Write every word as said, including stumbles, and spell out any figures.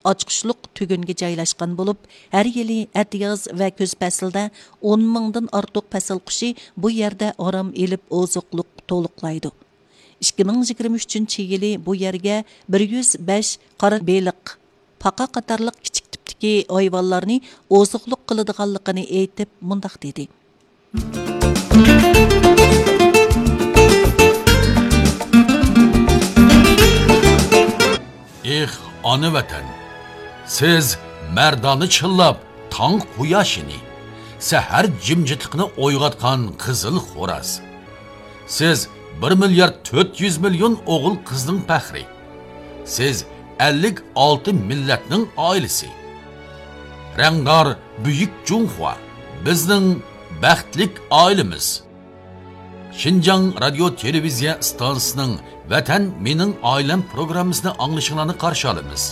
ئاچقۇچلۇق تۈگۈنگە جايلاشقان بولۇپ، ھەر يىلى ئەتىياز ۋە كۈز پەسلىدە ئون مىڭدىن ئارتۇق پەسىل قۇشى بۇ يەردە ئارام ئېلىپ ئوزۇقلۇق تولۇقلايدۇ. ئىككى مىڭ يىگىرمە ئۈچىنچى يىلى بۇ يەرگە بىر يۈز بەش قارا بېلىق، پاقا قاتارلىق كىچىك تىپتىكى ھايۋانلارنى ئوزۇقلۇق قىلىدىغانلىقىنى ئېيتىپ، مۇنداق دېدى. ئېھ، ئانا ۋەتەن! سىز مەردانە چىللاپ تاڭ قۇياشىنى، سەھەر جىمجىتلىقىنى ئويغاتقان قىزىل خوراز. سىز بىر مىليارد تۆت يۈز مىليون ئوغۇل قىزنىڭ پەخرى. سىز ئەللىك ئالتە مىللەتنىڭ ئائىلىسى. رەڭدار بۈيۈك جۇڭخۇا، بىزنىڭ بەختلىك ئائىلىمىز. شىنجاڭ رادىيو تېلېۋىزىيە ئىستانسىسىنىڭ ۋەتەن مېنىڭ ئائىلەم پروگراممىسىنى ئاڭلىشىڭلارنى قارشى ئالىمىز.